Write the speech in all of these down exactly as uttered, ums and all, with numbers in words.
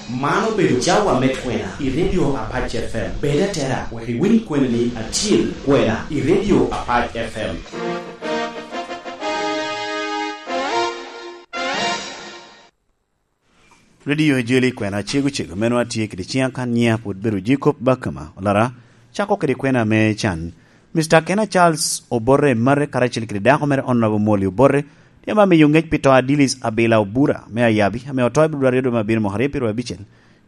Man obedo cawa me kwena i Radio Apac F M. Bed atera wek iwiny kweni ni atyel kwena i Radio Apac F M. Radio Ejeli kwena cego cego meno atye kede ciŋa kan nyiŋa pwod bedo Jacob Bakama Olara, cako kede kwena me can. Mister Kena Charles Obote Mare karacel kede dako mere Honorable Molly Obote, tye ame miyo ŋec pi to a Dilis Abila Obura me Ayabi, ame oto i Februari dwe me abiro mwaka aryo pyeraryo abicel.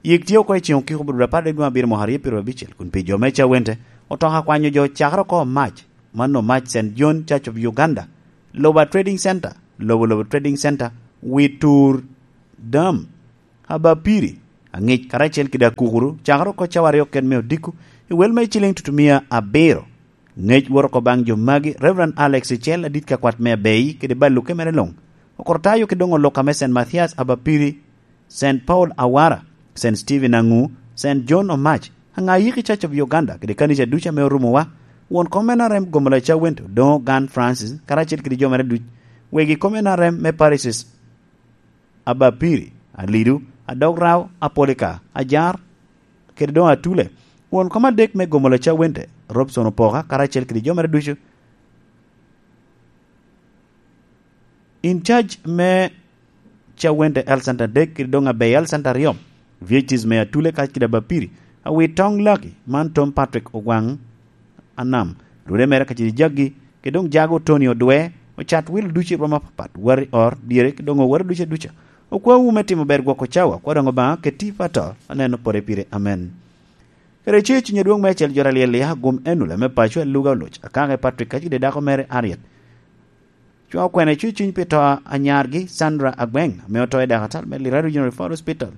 Yik tye oko i ceŋ okiko Februari apar dwe me abiro mwaka aryo pyeraryo abicel, kun pi jo me Cawente, otoka kwanyo jo cakere oko Mac, mano Mac Saint John Church of Uganda, Loba Trading Center, Lobo Lobo Trading Center, Witur Dam, Abapiri, Aŋic karacel kede Akukuru, cakere oko cawa aryo ket me odiko, i wel me ciliŋ tutumia abiro. Ŋec wot oko baŋ jo magi, Reverend Alex Icel, adit ka kwat me Abei, kede baluke mere luŋ. Okortayo ki doŋ oluka me Saint Mathias Abapiri, Saint Paul Awara, Saint Stephen Aŋu, Saint John Omac, aŋa yiki Church of Uganda, kede kanica ducu ame orumowa, won kom en arem gomo laca wente, Odoŋo Gan Francis, karacel kede jo mere duc, wegi kom en arem me parishes, Abapiri, Alidu, Adog Rao, Apolika, Ajar, kede doŋ Atule. Won kom adek me gomo laca wente, Robson Opoka, karacel kede jo mere ducu. In charge me Cawente Health Center adek, kede doŋ Abei Health Center aryo, V H Ts me Atule kacel kede Abapiri, Awitoŋ Laki, man Tom Patrick Ogwaŋ Anam, rwode mere kacel jaggi, kede doŋ jago Tony Odwe, ocat wil ducu i rwom apapat, wari or, dyere, kede doŋ owere ducu aduca. Okwawu me timo ber gwoko cawa, kwa doŋ Obaŋa keti i pato, aneno pore pire. Amen. Kede ce cuny adwoŋ me acel jot alyel liya, gum en ole me paco aluga oloc, akaka i Patrick kacel kede dako mere Ariet. Cwa okwena cucuny pi to a nyargi, Sandra Agweng, ame oto i dakatal me Lira Regional Referral Hospital.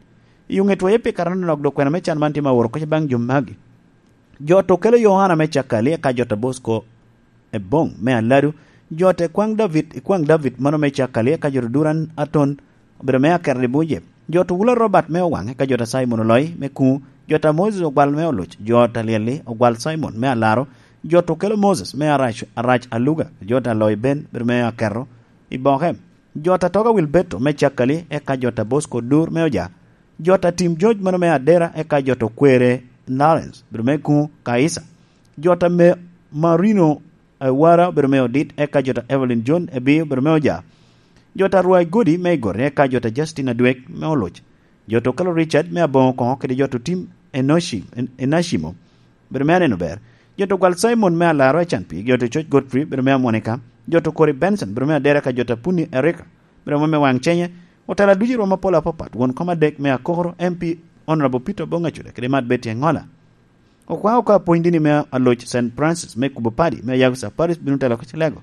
I oŋe twoye pi karano nok dok kwena me can man tye ma oro kec baŋ jo magi. Jo to kelo Yohana me Cakali, eka jo to Bosco Ebong me Aladu, jo to Ekwaŋ David, Ekwaŋ David, mano me Cakali, eka jo to Duran Aton, obedo me Akerli Buje. Jo to Wula Robert me Owaŋ, eka jo to Simon Oloi me Kuŋu, jo to Moses Ogwal me Oluc, jo to Lyelli Ogwal Simon me Alaro, jo to kelo Moses me Arac, Arac Aluga, jo to Aloi Ben, bedo me Akerro, i Boke. Jo to Toga Wilberto me Cakali, eka jo to Bosco Dur me Oja, jo to Tim George mano me Adera, eka jo to Kwere Lawrence, bedo me Kuŋu, Kaisa. Jo to me Marino Awara obedo me Odit, eka jo to Evelyn John Ebi obedo me Oja. Jo to Rwai Godi me Igori, eka jo to Justin Adwek me Oluc. Jo to kelo Richard me Aboŋo Koŋo kede jo to Tim Enoshi, En-, Enashimo, bedo me Aneno Ber. Jo to Gwal Simon me Alaro Ecan Pi, jo to Coc Godfrey, bedo me Amonika. Jo to Kori Benson, bedo me Adera, eka jo to Puni Erika, bedo me Waŋ Cenye. Otela ducu i rwom apol apapat, won kom adek me Akokoro, M P Honorable Peter Oboŋ Acuda, kede Mat Betty Eŋola. Okwaŋ oko apwony dini me Aloc Saint Francis me Kubo Padi me Ayago Saparis bino telo oko Cilego.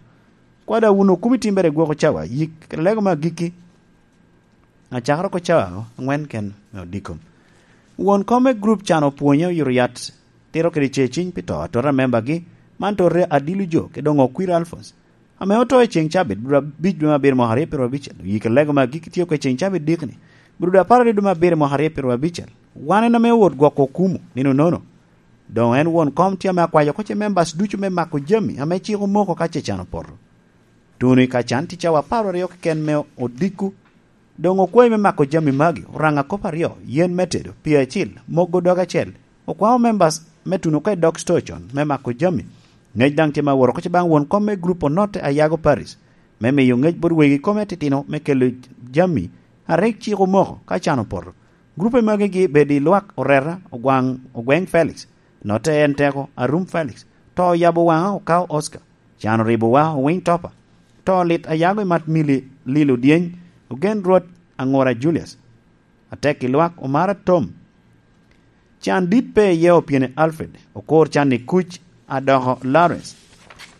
Kwada wun okumi timbere i gwoko cawa, yik kede lego me agikki, acakere oko cawa aŋwen ken me odiko. Won kom me grup can opwonye oyito yat tito kede ce ciny pi to atora membagi, man tote Adilu Jo kede doŋ Okwir Alphonse, ame oto i ceŋ cabit, bro abic dwe me abiro mwaka aryo pyeraryo abicel. Oyik lego me agikki tye oko i ceŋ cabit dikni, bro dwe apar aryo dwe me abiro mwaka aryo pyeraryo abicel. Wan en ame owot gwoko okumu nino nono. Doŋ en won kom tye ame akwayo oko ce members ducu me mako jami ame cik omoko ka ce can opoto. Tuno i ka can tye cawa apar aryo keken me odiko. Doŋ okwayi me mako jami magi, oraŋa kop aryo, yen me tedo, pii acil, mogo dog acel. Okwaŋo members me tuno oko i dog store con me mako jami. Ŋec daŋ tye ma woro oko ce baŋ won kom me grup Onotte Ayago Paris, me miyo ŋec bot wegi kome atitino me kelo jami a rik cik omoko ka can opoto. Grupe magi gi bedo i lwak Oreta, Ogwaŋ, Ogweŋ Felix, Notte En Teko, Arum Felix, To Oyabo Waŋa, Okawo Oscar, Can Oribowa, Owiny Topa, To Lit Ayago i Mat Mili Lilo Dyeny, Ogen Rwot Aŋura Julius, Atek i Lwak Omara Tom, Can Dit Pe Iye Opyene Alfred, Okor Can i Kuc Adoko Lawrence.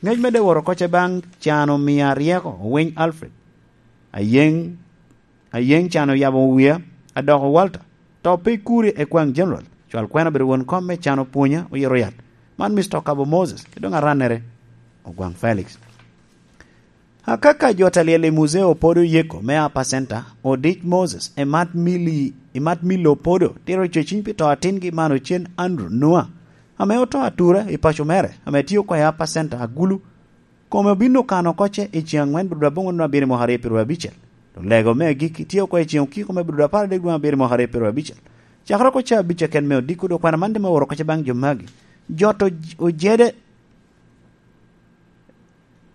Ŋec medde woro oko ce baŋ Can Omia Ryeko, Owiny Alfred, Ayeŋ Ayeŋ Can Oyabo Wia, Adoko Walter, To Pe Ikuri Ekwaŋ General, cwal kwena obedo won kom me Can Opwonya Oyero Yat, man Mister Okabo Moses, kede doŋ arannere Ogwaŋ Felix. Akaka jo ta lyel i Muzee Opodo Yeko me Upper Center, Odic Moses, Emat Mili, Emat Milo Opodo, tito cweciny pi to atingi man Ocen Andrew Nua, ame oto atura i paco mere, ame tye oko i Upper Center, Agulu, Kome obin okano oko ce i ceŋ aŋwen bro dwe aboŋwen dwe abiro mwaka aryo pyeraryo abicel. Dok lego me agikki tye oko i ceŋ okiko me bro dwe apar adek dwe abiro mwaka aryo pyeraryo abicel. Cakere oko ca abic keken me odiko, dok kwena man tye me oro kece baŋ jo magi. Jot oj-, ojede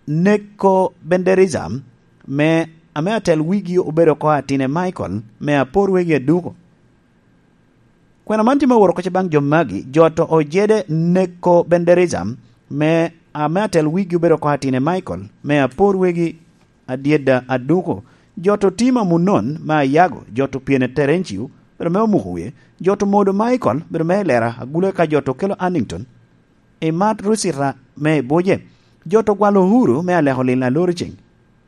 neko benderism me, ame atel wigi obedo oko Atine Michael me apor wegi aduko. Kwena man tye me oro kece baŋ jo magi, jot ojede neko benderism me, ame atel wigi obedo oko Atine Michael me apor wegi adyeda aduko. Jot otima munon me ayago, jot opyene terencio, bedo me omuko wie, jot omodo Michael, bedo me elera agule ka jot okelo Annington. Imat Rusita me Ibuje, jot ogwalo Uhuru me aleko lil aloro ceng.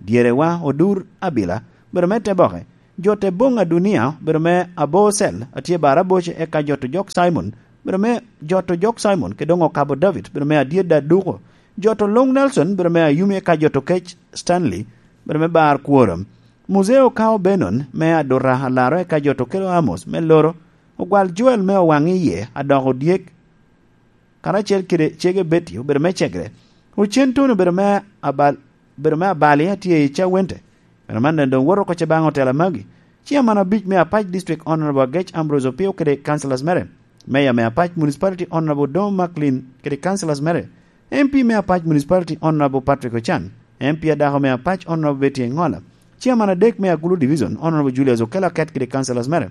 Dyerewa Odur Abila, bedo me te boke. Jot Ebong Adunia, bedo me abocel, atye bara boce, eka jot ojok Simon, bedo me jot ojok Simon, ke doŋ okabo David, bedo me adyeda aduko. Jot oluŋ Nelson, bedo me ayumi, eka jot okec Stanley, bedo me bar kworo. Muzeo Kao Benon, me aduta alaro, eka jot okelo Amos, me loro. Ogwal Joel me owaŋ iye, adoko dyek, karacel kede cege Betty obedo me cegere. Ocen Tony obedo me abal-, obedo me abali atye i Cawente. Kwena man doŋ woto oko ce baŋ otela magi. Chairman abic me Apac District Honorable Agec Ambrose Opio kede councillors mere. Mayor me Apac Municipality Honorable Odoŋo Macklin kede councillors mere. M P me Apac Municipality Honorable Patrick Ochan. M P adako me Apac Honorable Betty Engola. Chairman adek me Agulu Division Honorable Julius Okello Aket kede councillors mere.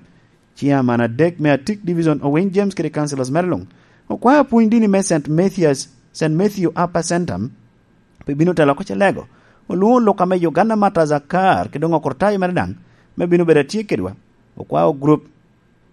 Chairman adek me Atik Division Owiny James kede councillors mere luŋ. Okwao apwony dini me Saint Mathias, Saint Matthew Upper Centum, pe bino telo oko ce lego. Olwoŋo lok ame Uganda Martyrs Akar, kede doŋ okurtayo mere daŋ, me bino bedo atye kedwa. Okwao group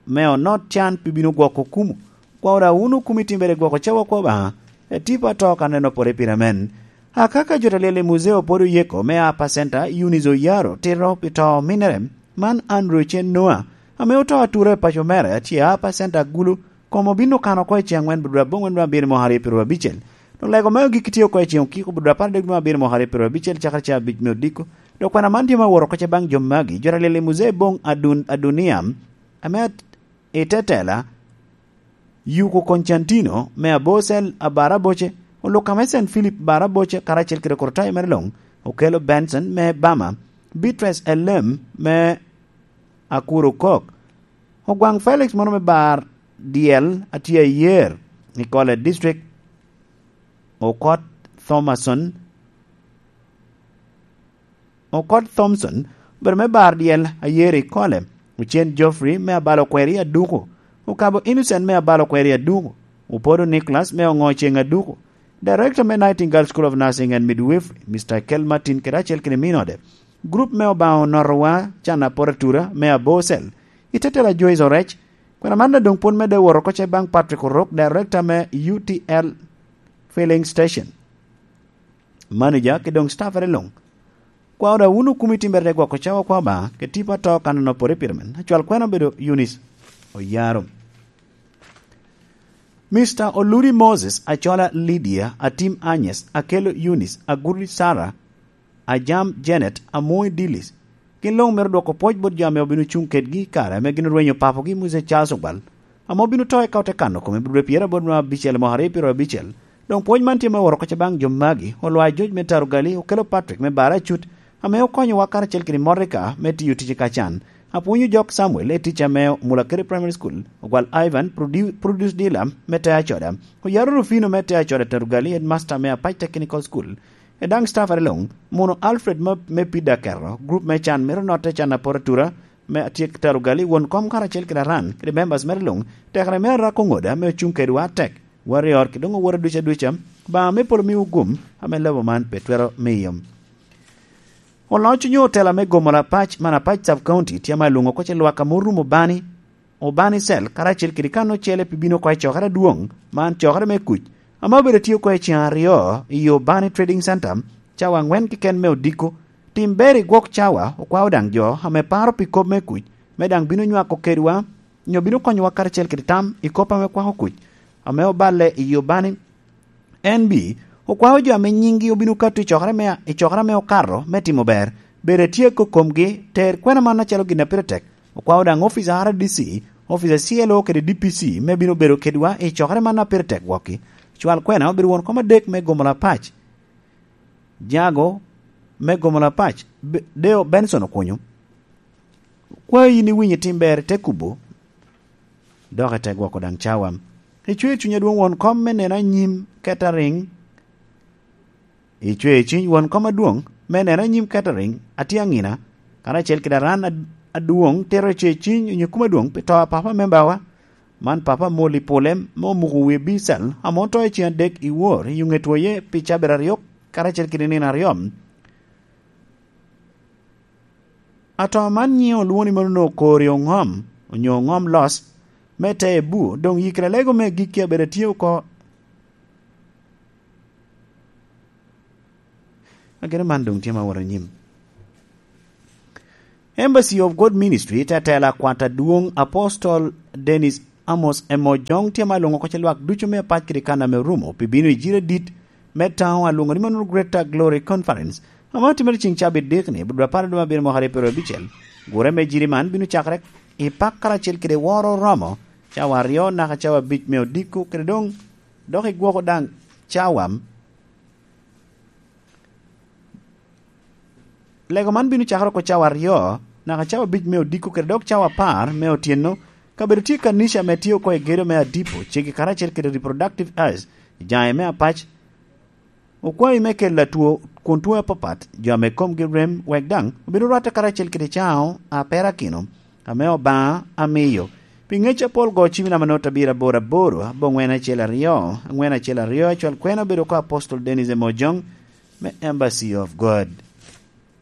me onot can pe bino gwoko kumu. Okwao da wunu kumi timbere gwoko cawa kwa Obaŋa, e tipo ato ka neno pore pire men. Akaka jo ta lyel i muzeo pwod oyeko me Upper Center, Eunice Oyaro, tito pi to ominere, man Andrew Cen Noah, ame oto atura i paco mere, atye a Upper Center Agulu, kom obino kano oko i ceŋ wen budura aboŋwen dwe abiro mo aryo pyero abicel. Dok lego me ogik tye oko i ceŋ okiko budura apar adek dwe abiro mo aryo pyero abicel cakere ca abic me odiko. Dok kwena man tye me woro oko ce baŋ jo magi, jo ta lyel i muzee boŋ Adun-, Adunia, ame at-, i tetela, Yuko Constantino me Abocel Abaraboce, Oluka me Saint Philip Baraboce, karacel kede Kurtayo mere luŋ, Okelo Benson me Bama, Beatrice Elem me Akuru Kok, Ogwaŋ Felix mono me Bar Dyel atye ayer i Kole District, Okot Thomason, Okot Thompson, obedo me bar dyel ayer i Kole, Ocen Geoffrey me abalo kweri aduko, Okabo Innocent me abalo kweri aduko, Opodo Nicholas me oŋo ceŋ aduko, Director me Nightingale School of Nursing and Midwifery, Mister Kel Martin kede acel kede min ode, Group me Obaŋa Onotowa can aporatura me Abocel, Itetela Joyce Orec, kwena man doŋ pwod medde woro oko ce baŋ Patrick Orok, Director me U T L Filling Station. Manager, kede doŋ staffere luŋ. Kwao da wunu kumi timbere te gwoko cawa kwa Obaŋa, kede tipo ato kan onopore pire men. Acwal kwena obedo Eunice Oyaro. Mister Oludi Moses, Acola Lydia, Atim Agnes, Akello Eunice, Agudi Sarah, Ajam Janet, Amoy Dillis, gin luŋ myero dwoko pwoc bot jo ame obino cuŋ kedgi i kare ame gin orwenyo papogi Musa Charles Ogwal, ame obino to eka ote kano kome i dwe pyeraboro ma abicel i mwaka aryo pyerabicel. Doŋ pwoc man tye me woro oko ce baŋ jo magi, Olwa George me Tarugali, Okelo Patrick me Bara Acut, ame okonyowa karacel kede Monica me tiyo tic i Kacan, Apwonyo Jok Samuel i tic ame Mulakere Primary School, Ogwal Ivan, Produ-, Produce Dealer me Te Acoda, Oyaro Rufino me Te Acoda Tarugali, Headmaster me Apac Technical School, e daŋ staff are luŋ, Muno Alfred me, me Pida Kero, group me can mito notte can aporatura, me Atyek Tarugali, won kom karacel kede aran, kede members mere luŋ, tekere me Arako Ŋoda me ocuŋ kedwa atek, Warrior, kede doŋ owora duca duca, Obaŋa me polo miwu gum, ame lobo man pe twero miyo. Oloc onyo otela me gomo Lapac, man Apac Sub County, tye ame alwoŋo oko ce lwak ame orumo Bani, Obani Cell, karacel kede kan ocele pi bino oko i cokere adwoŋ, man cokere me kuc, ame obedo tye oko i ceŋ aryo i Obani Trading Center, cawa aŋwen keken me odiko. Tim ber i gwok cawa, okwao daŋ jo ame paro pi kop me kuc, me daŋ bino nywako kedwa, nyo bino konyowa karacel kede tam i kop ame kwako kuc, ame oballe i Obani N B, okwao jo ame nyiŋgi obino kato i cokere me, i cokere ame okato me timo ber, bedo atye i komgi, ter kwena man acalo gin a pire tek. Okwao daŋ ofica R D C, ofica C L O kede D P C me bino bedo kedwa i cokere man a pire tek gwokki. Cwal kwena obedo won kom adek me gomo Lapac. Jago me gomo Lapac, Be-, Deo Benson Okunyo. Kwayo yin iwinyo tim ber, te kubo. dok ite gwoko daŋ cawa. Icweo cuny adwoŋ won kom me neno anyim Kettering. Icweo cuny won kom adwoŋ me neno anyim Kettering, atye aŋina, karacel kede aran ad-, adwoŋ tito icweo cuny onyo kum adwoŋ pi to a papa membawa. Man papa mol i pole me omuko wie Bical, ame oto i ceŋ adek i wor i ŋe twoye pi cabit aryo, karacel kede nino aryo. Ato man nyiŋe olwoŋo ni mano onwoŋo kori oŋom, onyo oŋom los, me te ebu, doŋ yikere alego me gikki abedo atye oko. Ageno man doŋ tye ma wot anyim. Embassy of God Ministry te tela kwat adwoŋ Apostol Dennis Amos Emojong tye ma lwoŋo oko ce lwak ducu me apac kede kan ame orumo pi bino i jiri adit me taŋo alwoŋo ni mano Greater Glory Conference, ame otimere ceŋ cabit dikni, budwa apar aduma abiro mwaka aryo pyeraryo abicel. Gure me jiri man bino cakere i pak karacel kede woro oromo cawa aryo naka cawa abic me odiko, kede doŋ dok igwoko daŋ cawa. Lego man bino cakere oko cawa aryo naka cawa abic me odiko, kede dok cawa apar me otyeno. Kabedo tye kanica ame tye oko i gedo me Adipo, ceggi karacel kede Reproductive Health, i jaŋe me apac, okwayi me kelo atwo kun twoŋe apapat, jo ame komgi rem, wek daŋ obin orwatte karacel kede caŋo a perakino ame Obaŋa amiyo. Pi ŋec apol, go cim i namba note abiro aboro aboro, aboŋwen acel aryo, aŋwen acel aryo, acwal kwena obedo oko Apostol Dennis Emojong me Embassy of God